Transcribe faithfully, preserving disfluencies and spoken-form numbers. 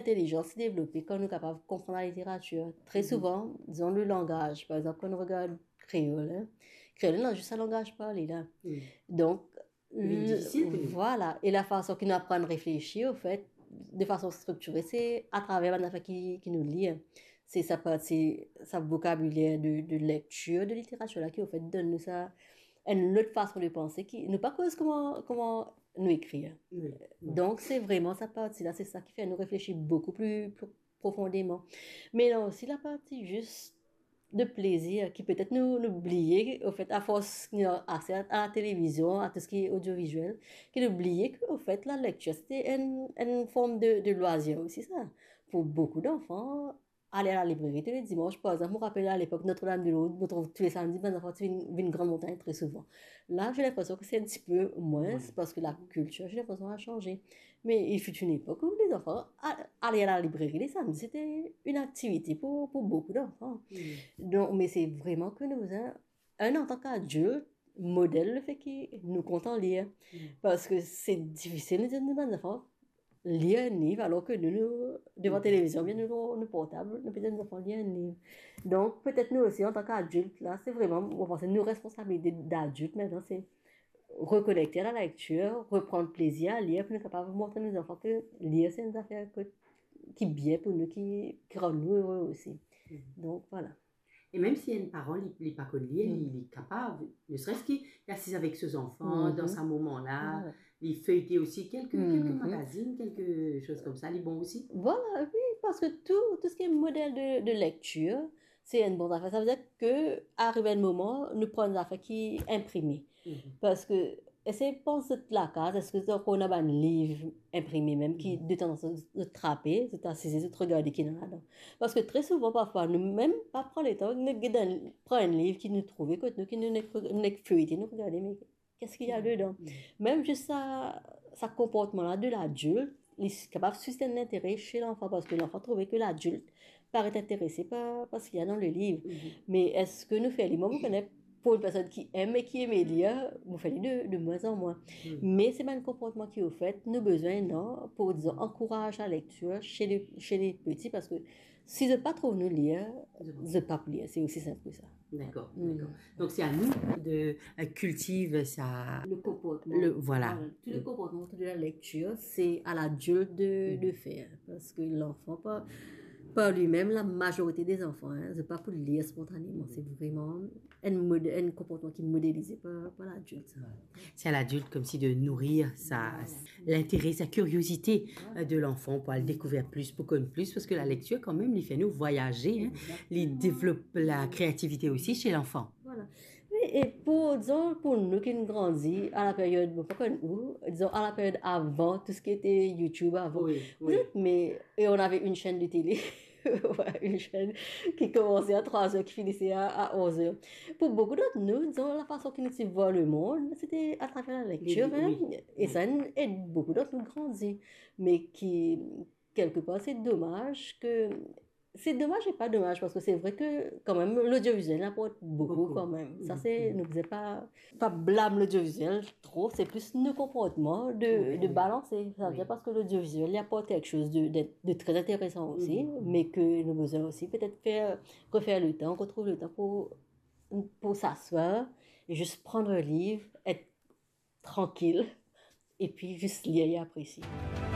intelizans devlope kan nou kapav konpran laliteratir. Tre souvan, dizon, le langaz, par exanp, kan nou regard kreol, en, kreol ena zis sa langaz parle la. Donk, vinn difisil pou nou. Vwala. E lafason ki nou aprann reflesi, anfet, de fason striktire, se atraver bann zafer ki, ki nou lir. Se sa parti, sa vokabiler de, de lektir, de literatir la ki, anfet, donn nou sa, enn lot fason de panse ki, nou pa koz kouma, kouma nou ekrir. Donk, se vreman sa parti la, se sa ki fer nou reflesi boukou pli, pli profondeman. Me ena osi laparti zis de plezir, ki petet nou, nou bliye, anfet, afors nou ase a, a la televizion, a tou seki odioviziel, ki nou bliye ke, anfet, lalektir, se enn, enn form de, de lwazir osi, sa. Pou boukou zanfan, ale a lalibreri tou le dimans, par exanp, mo rapel alepok, Notre-Dame-de-Lourdes, mo trouv tou le samdi, bann zanfan ti vinn, vinn Grand Montagne tre souvan. La, j'ai l'impression que c'est un petit peu moins, parski lakiltir, j'ai l'impression, a sanze. Me il fut une époque où les enfants a-, aller à la librairie le samedi, c'était une activité pour, pour beaucoup d'enfants. Donk, me se vreman ke nou bizin, enn, antan ki adilt, model lefet ki nou kontan lir. Parski se difisil nou dir nou bann zanfan lir enn liv, alor ke nou, nou devan televizion, oubien nou, nou portab, nou pe dir nou zanfan lir enn liv. Donk, petet nou osi, antan ki adilt, la, se vreman, mo panse, nou responsabilite dadilt aster, se rekonekte a lalektir, reprann plezir a lir, pou nou kapav montre nou zanfan ke lir se enn zafer ki, ki bien pou nou, ki, ki rann nou ere osi. Donk, vwala. E mem si enn paran, li, li pa konn lir, li, li kapav, ne serait-ce que li asiz avek so zanfan, dan sa moman la, li feyte osi kelke, kelke magazin, kelke soz koumsa, li bon osi. Vwala, wi, parski tou, tou seki model de, de lektir, se enn bon zafer. Sa vedir ke, ariv enn moman, nou pran zafer ki inprime. Parski, eski pans zot lakaz, eski zot ankor ena bann liv inprime mem ki detanzantan zot trape, zot asize, zot regarde ki ena ladan? Parski tre souvan, parfwa, nou mem pa pran letan, nou get enn, pran enn liv ki nou trouve kot nou, ki nou nek, nou nek feyte, nou regarde, me qu'est-ce qu'il y a dedans? Mem zis sa, sa konportman la de ladilt, li kapav sistenn lintere se lanfan, parski lanfan trouve ke ladilt paret interese par, par seki ena dan le liv. Me eski nou fer li? Mwa, mo kone pou enn personn ki eme, ki eme lir, mo fer li de, de mwin an mwin. Me se bann konportman ki, anfet, nou bizin, non, pou, dizon, ankouraz lalektir se le, se le piti, parski si zot pa trouv nou lir, zot pa pou lir. Se osi sinp ki sa. Dakor, dakor. Donk, se a nou de, euh, kiltiv sa, le konportman. Le, vwala. Vwala. Tou le konportman otour de lalektir, se a ladilt de, de fer. Parski lanfan, par, par limem, lamazorite de zanfan, en, zot pa pou lir spontaneman. Se vreman enn mod-, enn konportman ki modelize par, par ladilt, sa. Se a ladilt koumsi de nourir sa, lintere, sa kiriozite, euh, de lanfan pou al dekouver plis, pou konn plis, parski lalektir, kanmem, li fer nou vwayaze, en. Li devlop lakreativite osi se lanfan. Vwala. Wi, e pou, dizon, pou nou ki'nn grandi a la peryod, bon, pa konn ou, dizon, a la peryod avan tou seki ete YouTube avan. Wi, wi. Vous êtes, mais, et on avait une chaîne de télé. Ouais, une chaîne qui commençait à trois heures, qui finissait à, à onze heures. Pou boukou dant nou, dizon, lafason ki nou ti vwar lemond, se te atraver lalektir, wi, en. E sa inn ed boukou dant nou grandi. Me ki, kelkepar, se domaz ke, se domaz e pa domaz, parski se vre ke kanmem lodioviziel aport boukou kanmem. Sa se, nou bizin pa, pa blam lodioviziel tro, se plis nou konportman de, de balanse. Sa vedir parski lodioviziel, li aport kiksoz de, de, de tre interesan osi, me ke nou bizin osi petet fer, refer letan, retrouv letan pou, pou s'asseoir e zis pran liv, et trankil, epi zis lir e apresiye.